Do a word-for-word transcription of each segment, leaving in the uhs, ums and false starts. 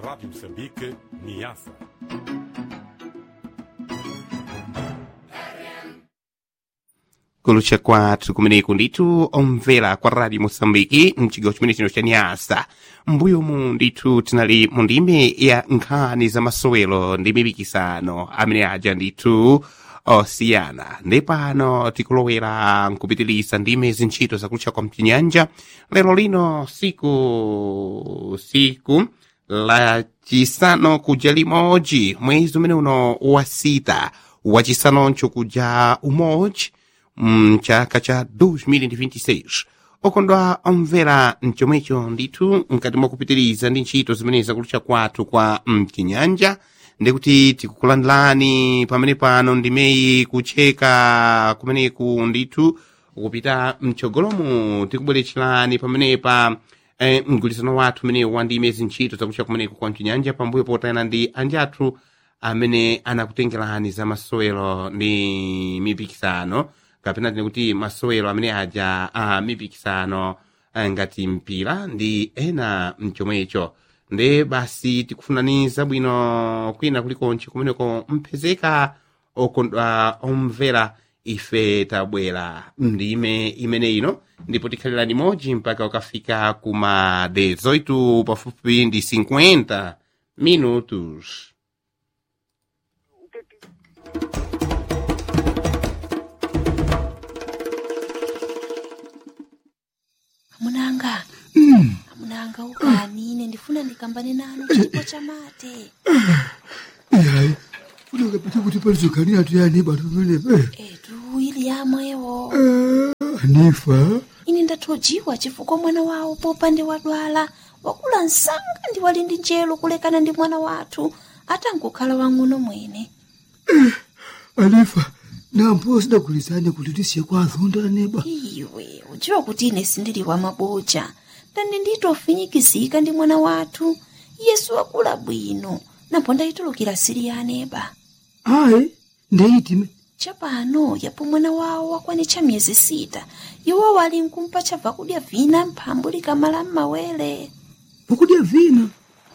Rádio Moçambique, Niassa. Kulucha kwathu kumeneko ndithu omvera kwa Radio Moçambique mchigawo chimene chino cha Niassa. Mbuyomu ndithu tinali mu ndime ya nkhani za masowelo ndi mipikisano amene aja ndithu osiyana. Ndi pano tikulowera nkupitilisa ndime zintchito zakutcha kwa mchinyanja lero lino siku siku la chisanu kuja limodzi mwezi umene uno wasita wachisanoncho kuja umodzi mchaka cha dois mil e vinte e seis. Okondwa omvera, mchomwecho ndithu mkati mwakupitiriza ndi ntchito zimene zakutcha kwathu kwa mchinyanja, ndikuti tikukulandilani pamene pano ndimeyi kucheka kumeneku ndithu kupita mtsogolomu tikubweretserani pamenepa eh, mgwirizano wathu umene wa ndime zintchito zakutcha kumeneku kwa mchinyanja pambuyo potayana ndi anjathu amene anakutengerani za masowelo ndi mipikisano, kapena tine kuti masowelo amene aja a mipikisano eh, ngati mpira ndi ena mchomwecho. Nde basi tikufunani zabwino kwina kulikonse kumeneko mphezeka. Okondwa omvera, ife tabwera ndime imene ino ndipo tikhalirani modzi mpaka ukafika kuma dezoito pafupi ndi cinquenta minutos. Amunanga, amunanga, ukani, ine ndifuna ndikambane nanu chipo chamate. Ihayi, funeka phethe ukuthi palizogani atuyani bantu pamenepe. Etu ili yamwewo. Anifa! Ine ndathojiwa chifukwa mwana wawo popande wadwala wakula msanga ndi wali ndi njelo kulekana ndi mwana wathu atangokhala wang'ono mwene. Anifa, nampo sidagulizane kuti tisiye kwa azonda aneba. Iwe udziwa kuti ine sindili wa maboja ndani nditofinyikizika ndi mwana wathu Yesu wakula bwino napo ndayitulukira sili ya aneba. Ayi, ndeyitime. Chapano yapo mwana wawo wakwanitcha miyezi sita, iwo wali nkumpa chabva kudya vina mphambu likamala m'mawere. Pokudya vina?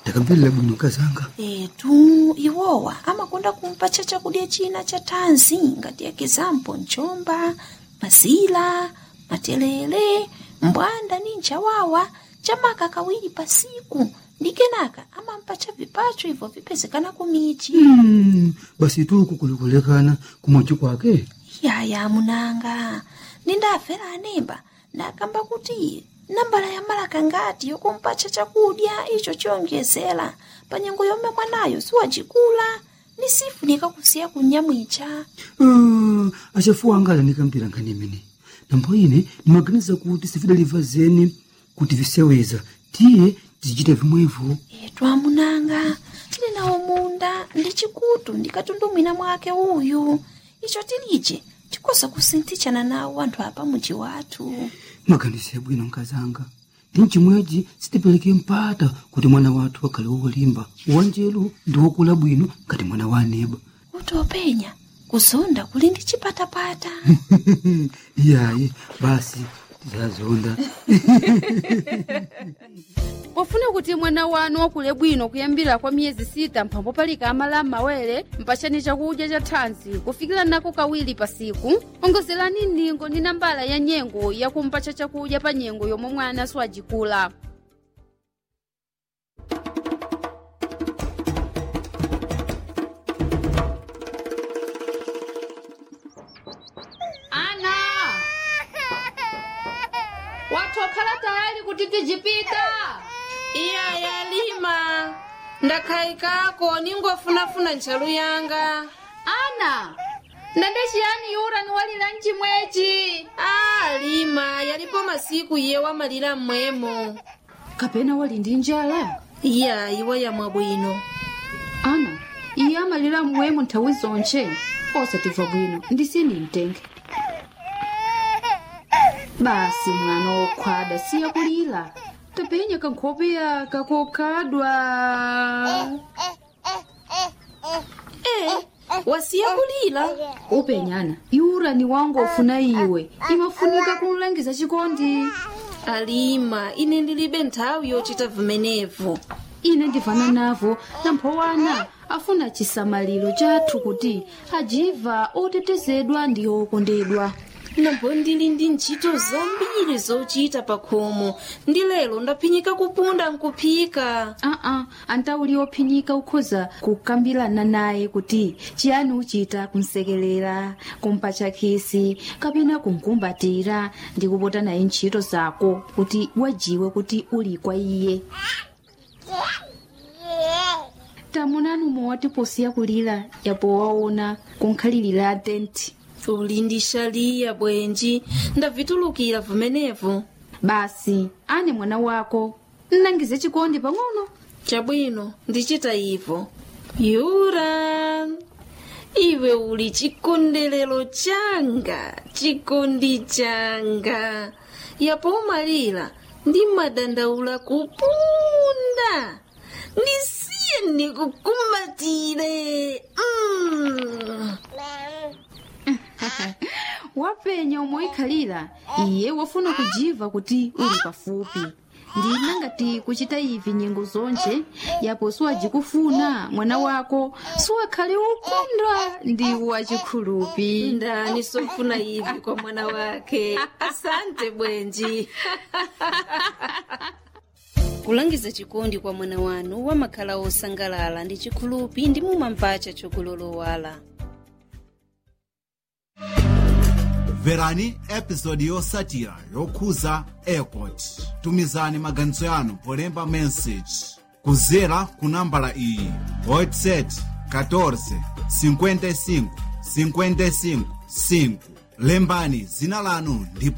Ndakamverera bwino kazanga. Etu iwowa amakonda kumpatcha chakudya china cha thanzi ngati ekizampo mchomba, mazila, matelele, mbwanda ni nchawawa chamaka kawiri pasiku, ndi kenaka amampatcha vipacho ibvo vipezekana kumichi. Mm, basi tuku kulikulekana kumochi kwake. Yaya munanga, nindafera anemba ndakamba kuti nambala ya malaka ngati yokumpatcha chakudya icho chiyonjezera pa nyengo yomwe mwanayo siwacikula ni sifunika kusiya kunyamwicha. Ah, achafuwa anga alanikampira nkhani imene nambo ine ndimaganiza kuti sifidaliva zeni kuti viseweza tiye tizichita vimwevo. Etu amunanga, tili nawo munda ndi chikutu ndikatundumwina mwake uyu, icho tilije tikoza kusinthitshana nawo anthu apa muji wathu. Maganizo yabwino nkazanga, ndi mchimwechi sitipereke mpata kuti mwana wathu akhale wolimba, wanjelu ndi wokula bwino ngati mwana wa aneba. Kuti openya kuzonda kuli ndi chipatapata. Iyayi, basi tizazonda. Pofuna kuti mwana wanu wakule bwino kuyambira kwa miyezi sita mphambo palika amala m'mawere, mpachani chakudya cha thanzi kufikira nako kawiri pasiku, ongozerani ningo ndi nambala ya nyengo yakumpatcha chakudya pa nyengo yomwe mwana siwajikula. Ana, wathokhala tayali kuti tijipita? Iya yalima, ndakhayikako, ningofunafuna ntchalu yanga. Ana, ndande chiyani yura niwalira mchimwechi? A lima, yalipo masiku iye wamalira mmwemo. Kapena wali ndi njala? Iya, iwo yamwa bwino. Ana, iye amalira mmwemo nthawi zonche, osatimva bwino ndisini mtenge. Basi mwana wokhwada, siya kulira, tapenya kankhopeya kakokhadwa. E, wasiya kulira. Upenyana iura ni wangu ofuna iwe imafunika kumlangiza chikondi. Alima, ine ndilibe nthawi yochita vimenevo. Ine ndivana navo namphowana afuna chisamaliro chathu kuti ajiva otetezedwa ndi okondedwa. Nambo ndili ndi ntchito zambiri zochita pakhomo ndi lero ndaphinyika kupunda nkuphika. Aa, antauli ophinyika ukhoza kukambirana naye kuti chiyani uchita kumsekelera, kumpatcha khisi kapena kumkumbatira ndi kupota naye ntchito zako kuti wajiwe kuti uli kwa iye. Tamunani umwe posiya kulira yapo waona kunkhalirira tenti. Uli ndi xaliya bwenji, ndavitulukira vumenevu. Basi ane mwana wako nnangize chikondi pang'ono. Chabwino, ndichita ivo. Yura, iwe uli chikondelero changa, chikondi changa. Yapo umalira ndi madandaula kupunda. Ndisiye ndikukumbatire. Mm. Wapenya umoikhalira iye wafuna kujiva kuti uli pafupi. Ndina ngati kuchita ivi nyengo zonje yapo siwajikufuna mwana wako siwakhale ukondwa ndi wachikhulupi. Ndani sofuna ivi kwa mwana wake. Asante bwenji. Kulangiza chikondi kwa mwana wanu wamakhala osangalala ndi chikhulupi ndi mumampacha chokulolowala. Mverani episodi yosatira yokhuza airport. Tumizani maganizo yanu polemba message kuzera ku nambala iyi: WhatsApp katorze cinquenta e cinco cinquenta e cinco cinco. Lembani zina lanu ndipo